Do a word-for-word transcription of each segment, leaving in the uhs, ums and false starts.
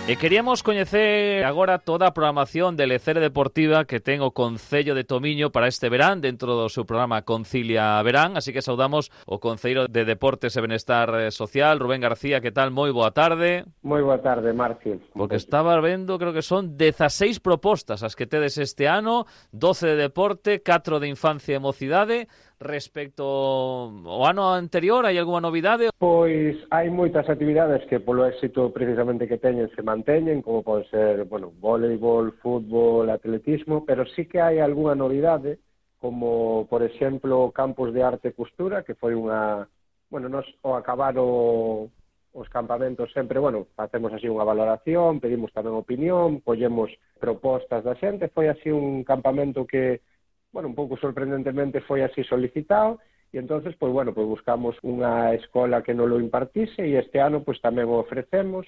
E queríamos coñecer agora toda a programación de Lecere Deportiva que ten o Concello de Tomiño para este verán dentro do seu programa Concilia Verán, así que saudamos o Concelleiro de Deportes e Benestar Social, Rubén García. Que tal? Moi boa tarde. Moi boa tarde, Marcio. Porque estaba vendo, creo que son dezaseis propostas as que tedes este ano, doce de deporte, catro de infancia e mocidade. Respecto ao ano anterior, hai algunha novidade? Pois hai moitas actividades que polo éxito precisamente que teñen se manteñen, como pode ser, bueno, voleibol, fútbol, atletismo, pero sí que hai algunha novidade, como, por exemplo, campus de arte e costura, que foi unha... Bueno, nos ao acabar o, os campamentos sempre, bueno, facemos así unha valoración, pedimos tamén opinión, collemos propostas da xente, foi así un campamento que... bueno, un pouco sorprendentemente foi así solicitado, e entonces, pois, bueno, pois buscamos unha escola que non lo impartise, e este ano, pois, tamén o ofrecemos,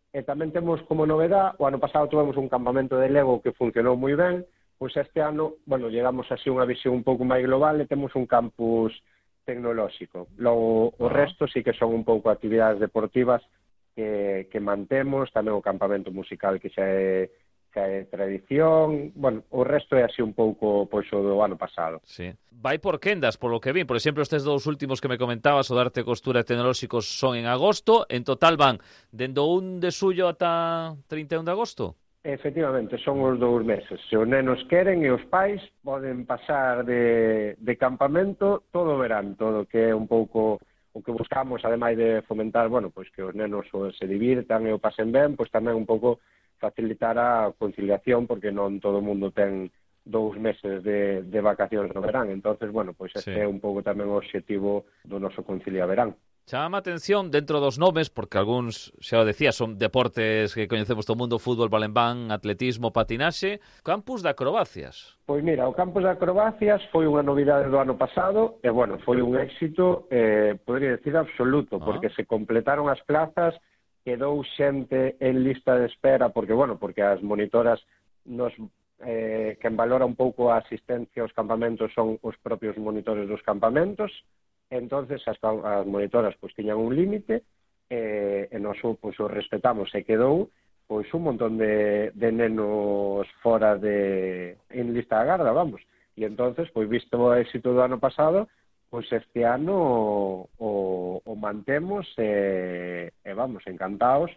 e tamén temos como novedad, o ano pasado tivemos un campamento de Lego que funcionou moi ben, pois este ano, bueno, llegamos así unha visión un pouco máis global e temos un campus tecnolóxico. Logo, o resto sí que son un pouco actividades deportivas que, que mantemos, tamén o campamento musical que xa é que é tradición, bueno, o resto é así un pouco pois o do ano pasado. Sí. Vai por quendas, por lo que vi. Por exemplo, estes dous últimos que me comentabas, o de arte, costura e tecnolóxicos, son en agosto. En total van dendo un de suyo ata trinta e un de agosto? Efectivamente, son os dous meses. Se os nenos queren e os pais poden pasar de, de campamento todo o verán, todo que é un pouco o que buscamos, ademais de fomentar, bueno, pois que os nenos se divirtan e o pasen ben, pois tamén un pouco facilitar a conciliación, porque non todo o mundo ten dous meses de, de vacacións no verán. Entonces, bueno, pois este sí. É un pouco tamén o obxectivo do noso Concilia Verán. Chama a atención dentro dos nomes, porque algúns, xa o decía, son deportes que coñecemos todo o mundo, fútbol, balonmán, atletismo, patinaxe, campus de acrobacias. Pois mira, o campus de acrobacias foi unha novidade do ano pasado, e, bueno, foi un éxito, eh, podría decir, absoluto, ah. porque se completaron as plazas, quedou xente en lista de espera, porque, bueno, porque as monitoras nos, eh, quen valora un pouco a asistencia aos campamentos son os propios monitores dos campamentos, entonces as, as monitoras pois tiñan un límite, eh, e nós pois, o respetamos, e quedou pois un montón de, de nenos fora de en lista de agarda, vamos, e entonces, pois visto o éxito do ano pasado, pois este ano o, o mantemos e, e vamos, encantados,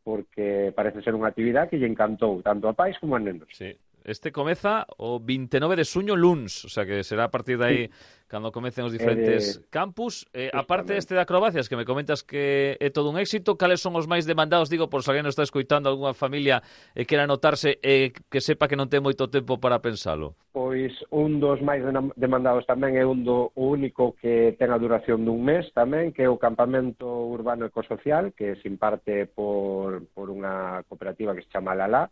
porque parece ser unha actividade que lle encantou tanto a pais como a nenos. Sí. Este comeza o vinte e nove de suño luns, o sea que será a partir de aí sí. cando comecen os diferentes eh, campus. Eh, aparte deste de acrobacias, que me comentas que é todo un éxito, cales son os máis demandados? Digo, por se alguén nos está escoitando algunha familia e quera anotarse e eh, que sepa que non ten moito tempo para pensalo. Pois un dos máis demandados tamén é un do único que ten a duración dun mes tamén, que é o campamento urbano ecosocial, que se imparte por, por unha cooperativa que se chama Lalá,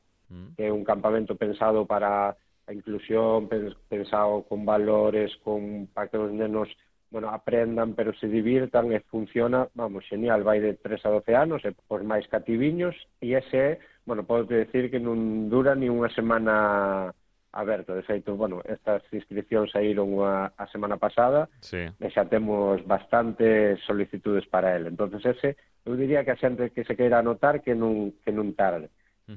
que é un campamento pensado para a inclusión, pensado con valores, con para que os nenos, bueno, aprendan, pero se divirtan, e funciona, vamos, genial, vai de tres a doce anos, e os máis cativiños, e ese, bueno, podo decir que non dura ni unha semana aberto. De feito, bueno, estas inscripcións saíron a, a semana pasada, sí. E xa temos bastantes solicitudes para ele. Entonces ese, eu diría que a xente que se queira anotar que non, que non tarde.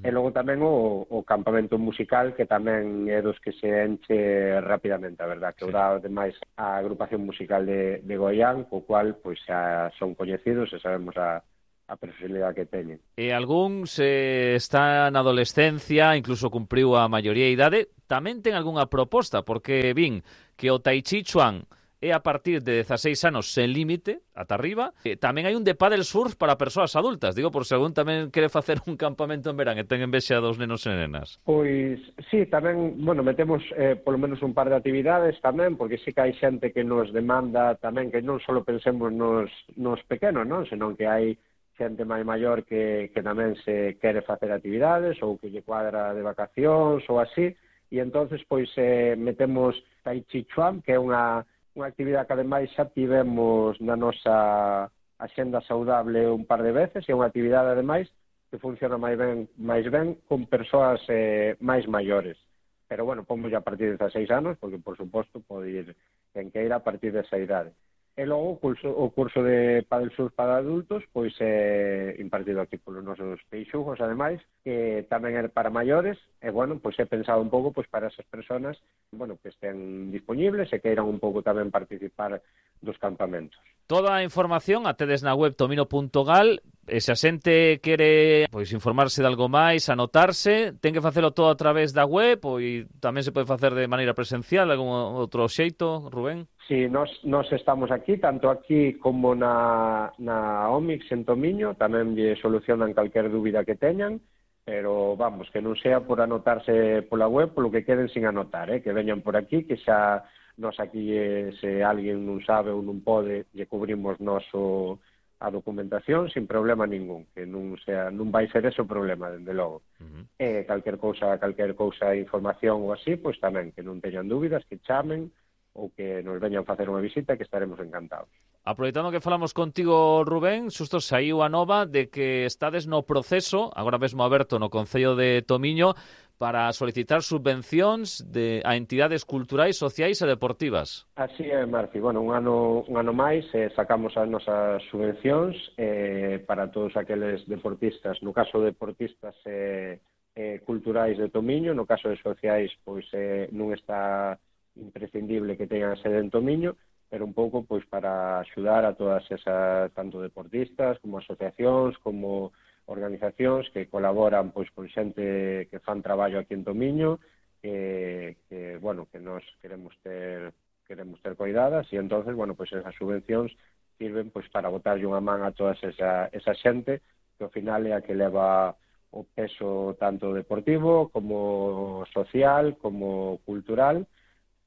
E logo tamén o, o campamento musical, que tamén é dos que se enche rapidamente, a verdad, que sí. O dá ademais a agrupación musical de, de Goián, co cual pois xa son coñecidos e sabemos a, a personalidade que teñen. E algún se está na adolescencia, incluso cumpriu a maioría de idade, tamén ten algunha proposta, porque vin que o Tai Chi Chuan é a partir de dezaseis anos sen límite, ata arriba. E tamén hai un de paddle surf para persoas adultas. Digo, por se algún tamén quere facer un campamento en verán e ten envexa dos nenos e nenas. Pois, sí, tamén, bueno, metemos eh, polo menos un par de actividades tamén, porque sí que hai xente que nos demanda tamén que non só pensemos nos, nos pequenos, non? Senón que hai xente máis maior que, que tamén se quere facer actividades ou que lle cuadra de vacacións ou así. E entonces, pois, eh, metemos Tai Chi Chuan, que é unha unha actividade que ademais xa tivemos na nosa axenda saudable un par de veces, e unha actividade ademais que funciona máis ben, máis ben con persoas eh, máis maiores. Pero bueno, pomos a partir de dezaseis anos, porque por suposto pode ir quen queira a partir desa idade. E logo o curso, o curso de Padel Surf para adultos pois é impartido aquí polos nosos peixugos, ademais, que tamén é para maiores, e bueno, pois é pensado un pouco pois para esas persoas, bueno, que estén disponibles e queiran un pouco tamén participar dos campamentos. Toda a información a tedes na web tomino punto gal, e se a xente quere pois informarse de algo máis, anotarse, ten que facelo todo a través da web, ou tamén se pode facer de maneira presencial, algún outro xeito, Rubén? Sí, nos, nos estamos aquí, tanto aquí como na, na Omix en Tomiño, tamén lle solucionan calquer dúbida que teñan, pero vamos, que non sea por anotarse pola web, polo que queden sin anotar, eh? Que veñan por aquí, que xa nos aquí, eh, se alguén non sabe ou non pode, lle cubrimos noso a documentación sin problema ningún, que non sea non vai ser ese o problema, dende logo. Uh-huh. E calquer cousa, calquer cousa, información ou así, pois tamén, que non teñan dúbidas, que chamen, ou que nos veñan facer unha visita, que estaremos encantados. Aproveitando que falamos contigo, Rubén, xusto saiu a nova de que estades no proceso, agora mesmo aberto no Concello de Tomiño, para solicitar subvencións de, a entidades culturais, sociais e deportivas. Así é, Marci. Bueno, un ano, un ano máis eh, sacamos as nosas subvencións eh, para todos aqueles deportistas, no caso de deportistas eh, eh, culturais de Tomiño, no caso de sociais, pois eh, non está imprescindible que teñan sede en Tomiño, pero un pouco pois para axudar a todas esas, tanto deportistas como asociacións, como organizacións que colaboran pois con xente que fan traballo aquí en Tomiño, que, que bueno, que nos queremos ter queremos ter coidadas, e entonces, bueno, pois esas subvencións sirven pois para botarlle unha man a toda esa, esa xente que ao final é a que leva o peso tanto deportivo como social, como cultural,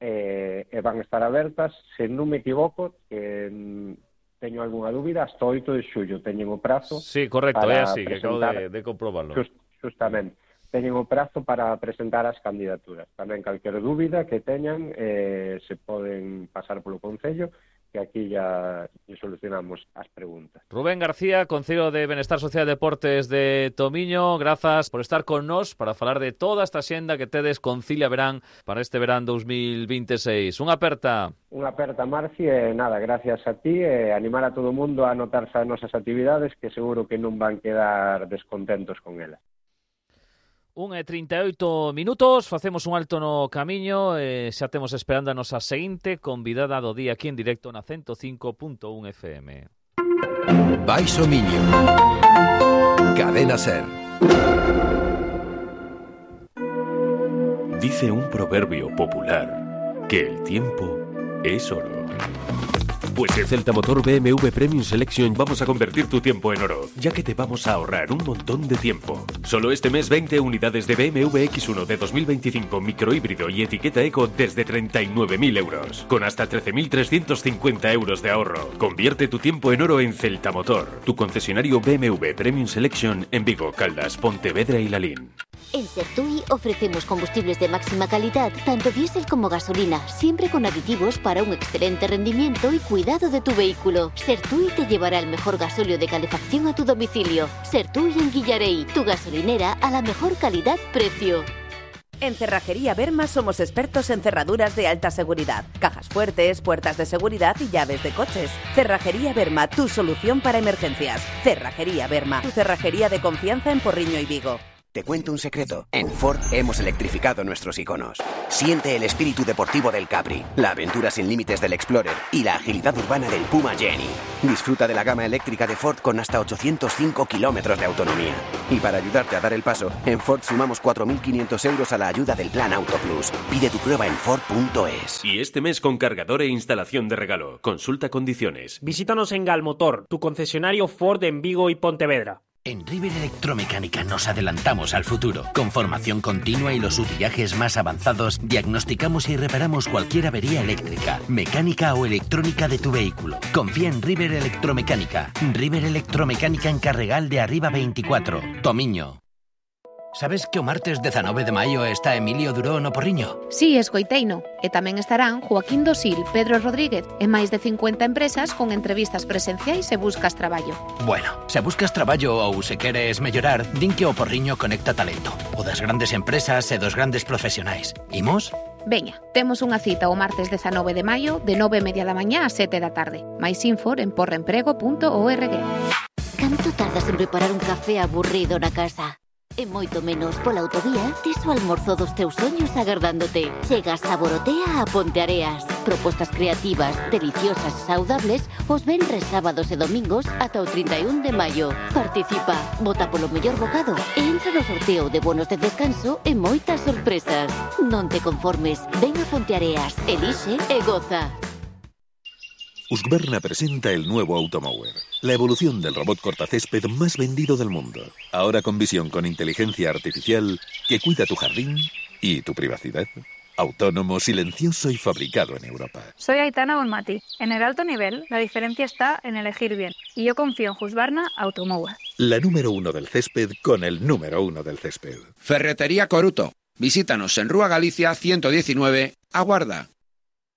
e, e van a estar abertas, se non me equivoco, que teño algunha dúbida, hasta oito de xullo teñen o prazo. Sí, correcto, é así, que acabo de, de comprobarlo. Just, justamente, teñen o prazo para presentar as candidaturas. Tamén calquer dúbida que teñan eh, se poden pasar polo Concello, que aquí ya solucionamos as preguntas. Rubén García, Concello de Benestar Social e Deportes de Tomiño, grazas por estar con nós para falar de toda esta xenda que tedes Concilia Verán para este verán dos mil veintiséis. Unha aperta. Unha aperta, Marci, e nada, gracias a ti, e animar a todo o mundo a anotarse as nosas actividades, que seguro que non van quedar descontentos con elas. un e trinta e oito minutos, facemos un alto no camiño e xa temos esperando a nosa seguinte convidada do día aquí en directo na ciento cinco punto un F M. Baixo Miño, Cadena Ser. Dice un proverbio popular que el tiempo es oro. Pues en Celta Motor B M W Premium Selection vamos a convertir tu tiempo en oro, ya que te vamos a ahorrar un montón de tiempo. Solo este mes veinte unidades de B M W X uno de dos mil veinticinco microhíbrido y etiqueta eco desde treinta y nueve mil euros, con hasta trece mil trescientos cincuenta euros de ahorro. Convierte tu tiempo en oro en Celta Motor, tu concesionario B M W Premium Selection en Vigo, Caldas, Pontevedra y Lalín. En Sertui ofrecemos combustibles de máxima calidad, tanto diésel como gasolina, siempre con aditivos para un excelente rendimiento y cuidado de tu vehículo. Sertui te llevará el mejor gasóleo de calefacción a tu domicilio. Sertui en Guillarey, tu gasolinera a la mejor calidad-precio. En Cerrajería Berma somos expertos en cerraduras de alta seguridad, cajas fuertes, puertas de seguridad y llaves de coches. Cerrajería Berma, tu solución para emergencias. Cerrajería Berma, tu cerrajería de confianza en Porriño y Vigo. Te cuento un secreto. En Ford hemos electrificado nuestros iconos. Siente el espíritu deportivo del Capri, la aventura sin límites del Explorer y la agilidad urbana del Puma Jenny. Disfruta de la gama eléctrica de Ford con hasta ochocientos cinco kilómetros de autonomía. Y para ayudarte a dar el paso, en Ford sumamos cuatro mil quinientos euros a la ayuda del Plan Auto Plus. Pide tu prueba en Ford punto es. Y este mes con cargador e instalación de regalo. Consulta condiciones. Visítanos en Galmotor, tu concesionario Ford en Vigo y Pontevedra. En River Electromecánica nos adelantamos al futuro. Con formación continua y los utillajes más avanzados, diagnosticamos y reparamos cualquier avería eléctrica, mecánica o electrónica de tu vehículo. Confía en River Electromecánica. River Electromecánica en Carregal de Arriba veinticuatro, Tomiño. Sabes que o martes dezanove de maio está Emilio Duró no Porriño? Sí, escoiteino. E tamén estarán Joaquín Dosil, Pedro Rodríguez e máis de cincuenta empresas con entrevistas presenciais se buscas traballo. Bueno, se buscas traballo ou se queres mellorar, din que o Porriño conecta talento. O das grandes empresas e dos grandes profesionais. Imos? Veña, temos unha cita o martes dezanove de maio de nove e media da mañá a sete da tarde. Mais info en porremprego punto org. Canto tardas en preparar un café aburrido na casa? E moito menos pola autovía, tes o almorzo dos teus soños agardándote. Chegas a Borotea a Ponteareas. Propostas creativas, deliciosas e saudables os venres, sábados e domingos ata o trinta e un de maio. Participa, vota polo mellor bocado e entra no sorteo de bonos de descanso e moitas sorpresas. Non te conformes, ven a Ponteareas, elixe e goza. Husqvarna presenta el nuevo Automower, la evolución del robot cortacésped más vendido del mundo. Ahora con visión con inteligencia artificial que cuida tu jardín y tu privacidad. Autónomo, silencioso y fabricado en Europa. Soy Aitana Bonmati. En el alto nivel, la diferencia está en elegir bien. Y yo confío en Husqvarna Automower. La número uno del césped con el número uno del césped. Ferretería Coruto. Visítanos en Rúa Galicia ciento diecinueve, Aguarda.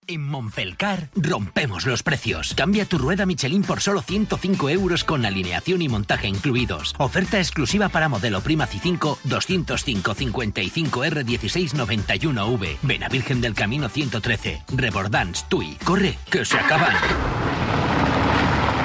En Monfelcar rompemos los precios. Cambia tu rueda Michelin por solo ciento cinco euros con alineación y montaje incluidos. Oferta exclusiva para modelo Prima C cinco doscientos cinco cincuenta y cinco R dieciséis noventa y uno V. Vena Virgen del Camino ciento trece. Rebordans, Tui. Corre, que se acaban.